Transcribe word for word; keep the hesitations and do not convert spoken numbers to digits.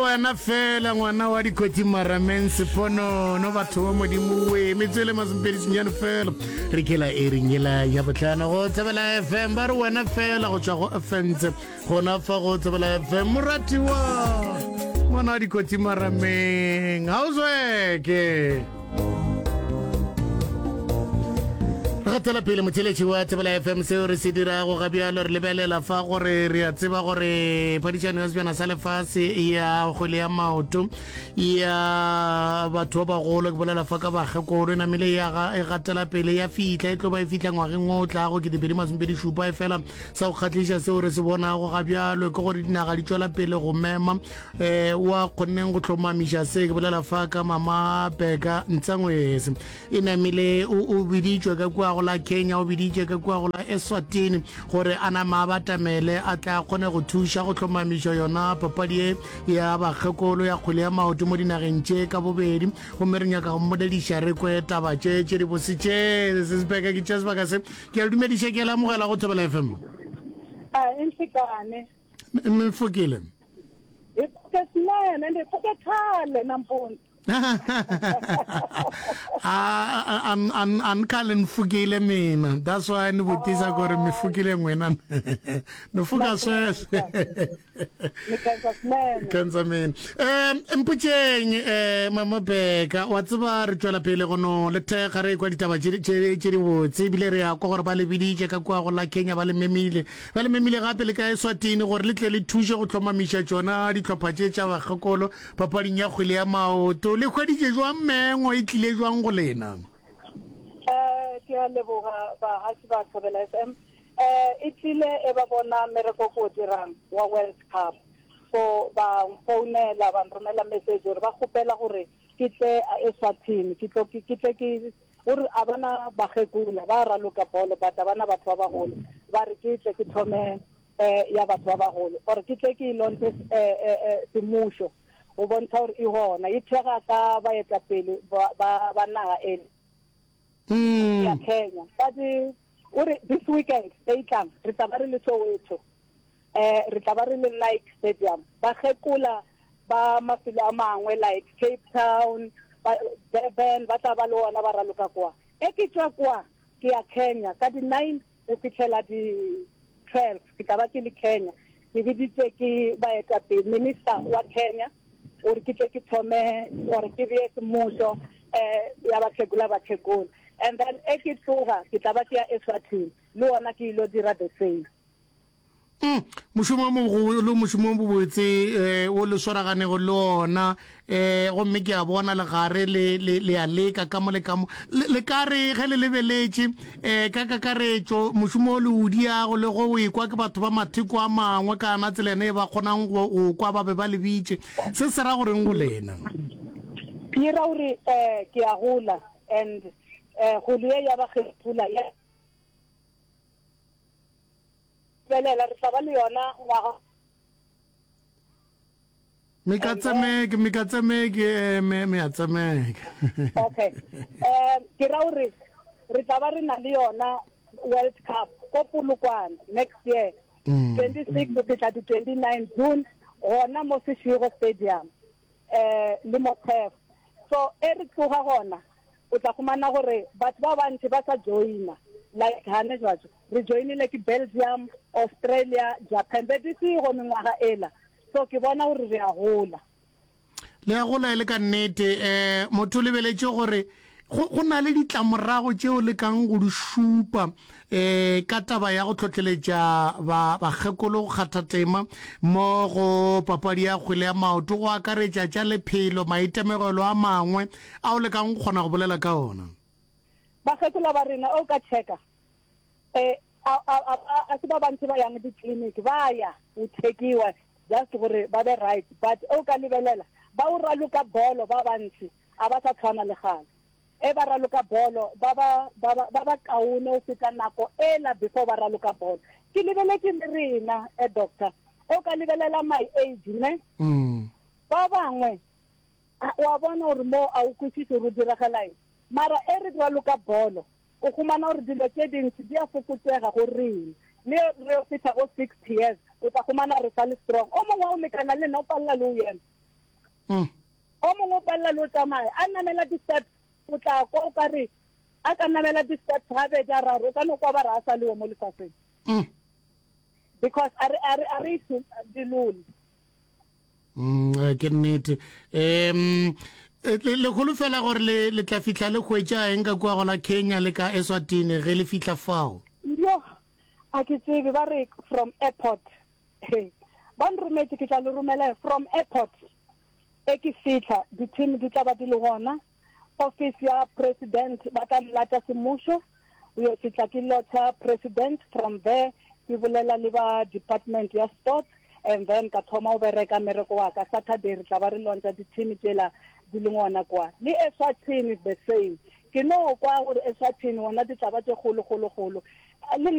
Wena fela ngwana wa dikotsi marameng seponono batho ba modimo we metswele masomepedi senyane fela re kela e reng ela ya botlhano go tsebela fm ba re wena fela go tswa go fence gona fa go tsebela fm moratiwa ngwana wa dikotsi marameng ga o zweke Re gatela pele motheletši wa Thobela FM seo re se dirago ga bjalo re lebelela fa gore re a tseba gore phadišano ya sebjana sa lefase ya kgwele ya maoto ya batho ba bagolo ke bolela fa ka bakgekolo e namile ya e gatela pele ya fihla e tlo ba e fihla ngwageng o tlago ketepedi masomepedi šupa e fela sa go kgahliša seo re se bonago ga bjalo ke gore dinaga di tšwela pele go mema um wa kgonneng go hlomamiša se ke bolela fa ka mama Beka Ntsangwese e namile o, o biditšwe ka kua go la Kenya, o biditše ka kua go la Eswatini gore a nama a batamele a tle a kgone go thuša go hlomamiša yona papadi ye ya bakgekolo ya kgwele ya maoto mo dinageng tše ka bobedi. Gomme re nyaka go mmolediša re kwe taba tše tše dibose tše. Sesibeka ke tšea sebaka se ke a le dumediša, ke a le amogela go Thobela F M. A e nhlekane. Mfokile. Hi pfuke swinene ende hi pfuke khale nampundzu. A a a ni khale ni pfukile mina that's why ni vutisa ku ri mi pfukile n'wina ni pfuka sweswo ni khensa swinene khensa mina um mpotšeng um mama beka wa tseba re tšwela pele go no le thekga re kwa ditaba tše tše dibotse ebile re ya kwa gore ba le biditše ka kua go la kenya ba le memile ba le memile gape le ka eswatini gore le tle le thuše go hlomamiša tšona dihlopha tše tša bakgekolo Papading ya kgwele ya maoto, le hweditše jwang mengo e tlile jwang go lena? Eh, ke a leboga bahaši ba Thobela F M. Eh, e tlile e ba bona mmereko ko o dirang wa World Cup. So ba nfounela ba nromela message gore ba kgopela gore ke tle Eswatini ke tlo ke tle ke gore a bana bakgekola ba raloka bolo but a bana batho ba bagolo ba re ke tle ke thome eh ya batho ba bagolo gore ke tle ke e lontshe eh, eh, eh, semmušo go bontsha gore e gona e thega ka baetapele ba, ba, ba naga ele Mm. ya Kenya but o re this weekend e e tlang re tla ba re le Soweto eh re tla ba re le Nike Stadium ba kgekola ba mafelo a mangwe like Cape Town ba Durban ba tla ba le ona ba raloka kwa e ke tšwa kwa ke ya Kenya ka di nine go fihlela di twelve ke tla ba ke le Kenya ke biditše ke baetapele minister wa Kenya gore ke tle ke thome gore ke bee semmušo eh ya bakgekola bakgekola and then e ke tloga ke tla ba ke ya Eswatini le ona ke ilo dira the same. Mm, mošomo o mogolo, mošomo o mobotse eh, o le swaraganego le ona eh, gomme ke a bona legare le, le, le a leka ka mo le ka mo. Le, le ka re ge le lebeletše eh, ka kakaretšo mošomo o le o diago le go o ekwa ke batho ba matheko a mangwe ka ana tsela ene e ba kgonang go o kwa ba be ba le bitše, se se ra goreng go lena? Ke ra gore eh, ke a gola and eh, kgolo ye ya bakgethula ya Lebelela, re tla ba le yona ngwaga. Me ka tsemeke, me ka tsemeke, eh, me, me a tsemeke. Okay. Um, ke ra gore re tla ba re na le yona World Cup ko Polokwane next year. Mm. twenty-six go fihla di twenty-nine June gona mo Seshego Stadium eh le mo Turf. So e re tloga gona o tla humana gore batho ba bantši ba sa joina like hane jwatso re joinile ke Belgium, Australia, Japan be di sego mengwaga ela so ke bona gore re a gola. Le a gola e le ka nnete. Um motho o lebeletše gore go, go na le ditlamorago tšeo le kang go di šupa um ka taba ya go hlohleletša ba, bakgekolo go kgatha tema mo go papadi ya kgwele ya maoto, go akaretša tša lephelo, maitemogelo a mangwe ao le kang go kgona go bolela ka ona. Bakgekolo ba rena, o ka checka, eh, a, a, a, a se ba bantši ba yang di-clinic, ba ya go checkiwa just gore ba be right, but o ka lebelela ba o raloka bolo ba bantši a ba sa tshwana le kgale. E ba raloka bolo ba ba, ba ba, ba ba kaone go feta nako ela before ba raloka bolo. Ke lebeletše le rena, eh, doctor, o ka lebelela my age, ne? Mm. Ba bangwe, a, wa bona gore mo a o kwešiše gore o diragala eng. Mara e re raloka bolo, o humana gore dilo tše dintši di a fokotšega go rena. Le re yo fihla go sixty years, o tla humana re sa le strong. O mongwe wa o lekana le nna o palela le o ema. Mm. O mongwe o palela le o tsamaya a namela di-steps, o tla kwa o ka re a ka namela di-steps gabedi a raro, o ka no kwa ba re a sa lewe mo lefaseng. Mm. Because a re a re a re dilole. Mm, eh, ke nnete. Um le le holofela gore le le tla fihla le hwetša eng ka kua gola Kenya le ka Eswatini ge le fihla fao? Yo, a ke tsebe, ba re from airport. Hey, ba nrometše, ke tla le romela from airport. E ke fihla, di-team di tla ba di le gona. Office ya president ba tla nlata semmušo. O yo fihla ke lotha president, from there ke bolela le ba department ya sports, and then ka thoma o bereka mmereko wa ka. Saturday re tla ba re launcha di-team tšela di le gona kwa. Le Eswatini is the same. Ke no kwa gore Eswatini gona di tla ba tše kgolo kgolo kgolo. Le nna